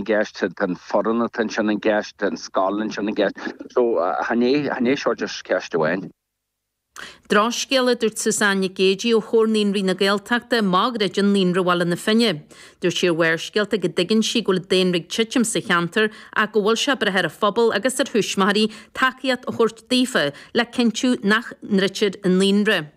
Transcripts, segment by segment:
gceist, tá an foireann atá ansin i gceist, tá an scoil ansin i gceist. So, chan é, chan é seo just ceist amháin. Drochscéal, a dúirt Suzanne Nic Géidigh ó Chomhar Naíonraí na Gaeltachta, má dhruideann Naíonra Bhaile na Finne. Dúirt sí ar Bharrscéalta go dtuigeann sí go bhfuil daonra ag titim sa cheantar ach go bhfuil sé ag brath ar an phobal agus ar thuismitheoirí tacaíocht a thabhairt daofa le cinntiú nach ndruidtear an naíonra.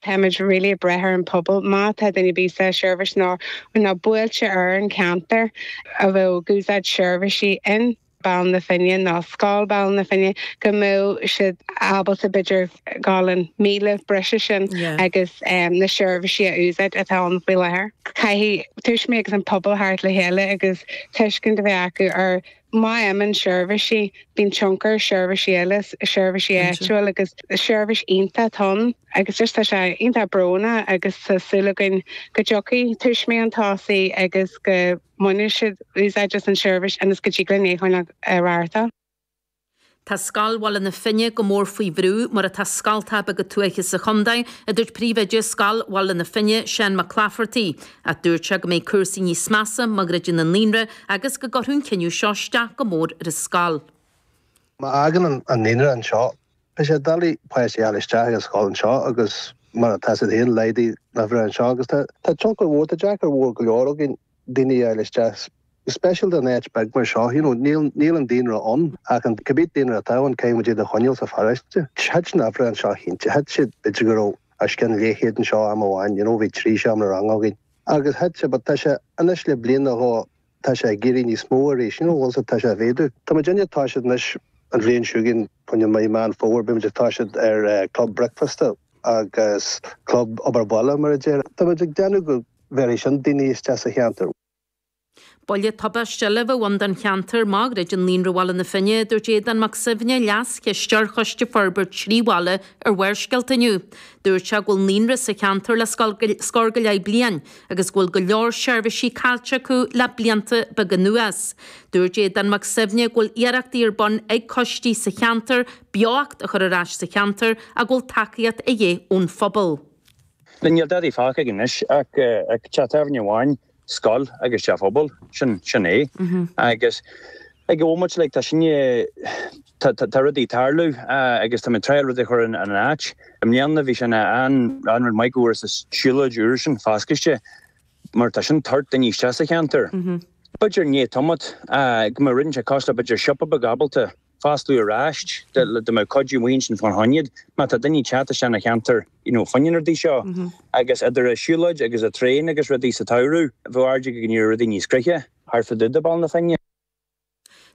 Táimid really ag brath ar an pobal. Má tá duine ar bith sa seirbhís nó nó buailte ar an cheantar a bheadh ag úsáid seirbhísí in Baile na Finne nó Scoil Baile na Finne go mbeadh siad ábalta b'fhéidir gabháil an míle breise sin agus na seirbhísí a úsáid atá ann faoi láthair. Caithfidh tuismitheoirí agus an pobal theacht le chéile agus tuiscint a bheith acu ar má imíonn seirbhísí, bíonn tionchar ar seirbhísí eile, seirbhísí áitiúil agus seirbhís iontach atá ann agus just tá sé iontach brónach agus tá súil againn go dtiocfaidh tuismitheoirí chun tosaigh agus go mbainfidh siad úsáid as an seirbhís ionas go dtig linn é a choinneáil ag reáchtáil. Tá Scoil Bhaile na Finne go mór faoi bhrú, mar atá scoltacha beaga tuaithe sa chontae, a dúirt príomhoide Scoil Bhaile na Finne, Seán Mac Claifertaigh. Ach dúirt sé go mbeidh cúrsaí níos measa má dhruideann an naíonra agus go gcuirfeadh an cinneadh seo isteach go mór ar an scoil. Má fhágann an naíonra anseo, beidh sé doiligh páistí a fháil isteach ag an scoil anseo agus mar atá siad féin, laghdaigh na huimhreacha anseo agus tá tionchar mhór, tá deacair mhór go leor againn daoine a fháil isteach, go speisialta in áit beag mar seo, you know, níl, níl an daonra ann ach an cibé daonra atá ann, caithfidh muid iad a choinneáil sa pharóiste. Thit na huimhreacha anseo cinnte, thit siad, b'fhéidir go raibh os cionn leathchéad anseo am amháin, you know, bhí trí seomra ranga againn agus thit sé, but tá sé anois le bliain nó dhó, tá sé ag éirí níos mó arís, you know, bhfuil sé, tá sé ag mhéadú. Tá muid ag toiseacht anois an bhliain seo chugainn, fá choinne mí Meán Fómhair, beidh muid ag toiseacht ar club bricfeasta agus club obair bhaile mar a deir. Tá muid ag déanamh go bhféadfaidh sin daoine isteach sa cheantar. Buille tubaiste eile a bheadh ann don cheantar má dhruideann Naíonra Bhaile na Finne, a dúirt Aodán Mac Suibhne, Leas-Chisteoir Choiste Forbartha Thrí Bhaile ar Bharrscéalta inniu. Dúirt sé go bhfuil naíonra sa cheantar le scór go leith bliain agus go bhfuil go leor seirbhísí caillte acu le blianta beaga anuas. Dúirt Aodán Mac Suibhne go bhfuil iarrachtaí ar bun ag coistí sa cheantar beocht a chur ar ais sa cheantar ach go bhfuil tacaíocht a dhíth ón phobal. Níl dadaí fágtha againn anois ach teach tábhairne amháin, scoil agus teach pobail, sin sin é. Agus ag an bhomaite like tá sinne, tá tá rudaí ag tarlú agus tá muid ag triail rudaí a chur in in áit. I mbliana bhí sé ina an an rud maith go bhfuair an siúlóid úr sin foscailte mar tá sin ag tabhairt daoine isteach sa cheantar. B'fhéidir i ndiaidh tamaill go mbeadh rud inteacht cosúil le b'fhéidir siopa beag ábalta fosclú aráist dá mbeadh cuidiú amuigh ansin fán choinne iad má tá daoine ag teacht isteach ina cheantar you know fá choinne na rudaí seo agus idir an siúlóid agus an traein agus rudaí sa tsamhradh bheadh airde go ndéarfadh rudaí níos craice thart fá dtaobh de Baile na Finne.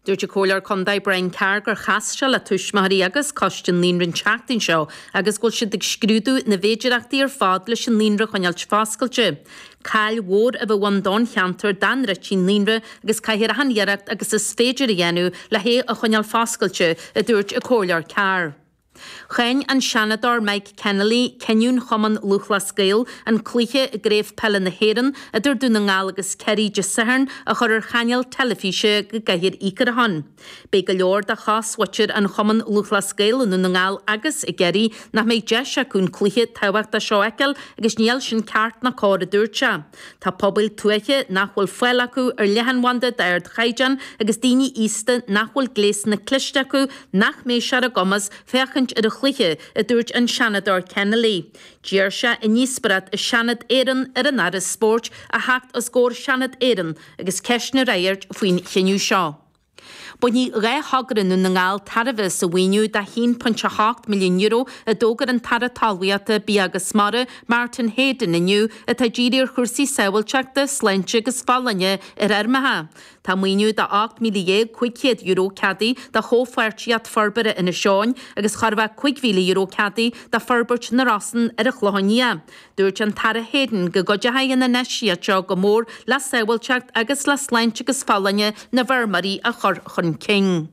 Dúirt an Comhairleoir Contae Brian Carr gur chas sé le tuismitheoirí agus coiste an naíonra an tseachtain seo agus go bhfuil siad ag scrúdú na bhféidireachtaí ar fad leis an naíonra a choinneáilt foscailte. Caill mhór a bheadh ann don cheantar dá ndruidtí an naíonra agus caithfear achan iarracht agus is féidir a dhéanamh le hé a choinneáil foscailte, a dúirt an Comhairleoir Carr. Cháin an Seanadóir Mike Kennelly cinniúint Chumann Lúthchleas Gael an cluiche i gCraobh Peile na hÉireann idir Dún na nGall agus Ciarraí Dé Sathairn a chur ar chainéal teilifíse go gCathair Uí Corracháin. Beidh go leor de chosmhuintir an Chumann Lúthchleas Gael i nDún na nGall agus i gCiarraí nach mbeidh deis acu an cluiche tábhachtach seo a fheiceáil agus níl sin ceart ná cóir a dúirt sé. Tá pobail tuaithe nach bhfuil fáil acu ar leathanbhanda d'ardchaighdeán agus daoine aosta nach bhfuil gléasanna cliste acu nach mbeidh sé ar a gcumas féachaint ar an chluiche, a dúirt an Seanadóir Kennelly. D'iarr sé i ndíospóireacht i Seanad Éireann ar an Aire Spóirt a theacht os comhair Sheanad Éireann agus ceisteanna a fhreagairt faoin chinneadh seo. Bainfidh 2 thogra i nDún na nGall tairbhe as an mhaoiniú de €1.8 milliún a d'fhógair an tAire Talmhaíochta, Bia agus Mara, Martin Heydon inniu, atá dírithe ar chúrsaí sábháilteachta, sláinte agus folláine ar fheirmeacha. Tá maoiniú de €18,500 ceadaithe do Chomhpháirtíocht Forbartha Inis Eoghain agus chóir a bheith €5,000 ceadaithe do Forbairt na Rosann ar an Chlochán Liath. Dúirt an tAire Heydon go gcuideoidh an infheistíocht seo go mór le sábháilteacht agus le sláinte agus folláine na bhfeirmeoirí a chur chun cinn.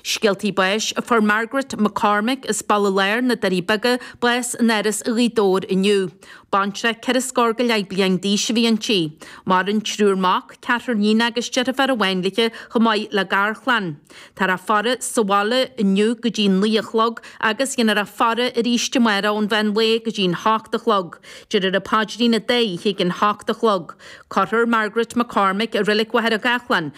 Scéaltaí báis Fuair Margaret McCormick as Baile Láir, na Doirí Beaga, bás in Áras Ghaoth Dobhair inniu. Baintreach ceithre scór go leith bliain d'aois a bhí inti. Maireann triúr mac, ceathrar níon agus deirfiúr amháin léi chomh maith le garchlann. Táthar á faire sa bhaile inniu go dtí 9 a chlog agus dhéanfar a faire arís amárach ón mheán lae go dtí an hocht a chlog. Déarfar an paidrín an dá oíche ag an hocht a chlog. Cuirfear Margaret McCormick i Reilig Mhachaire Gathlán.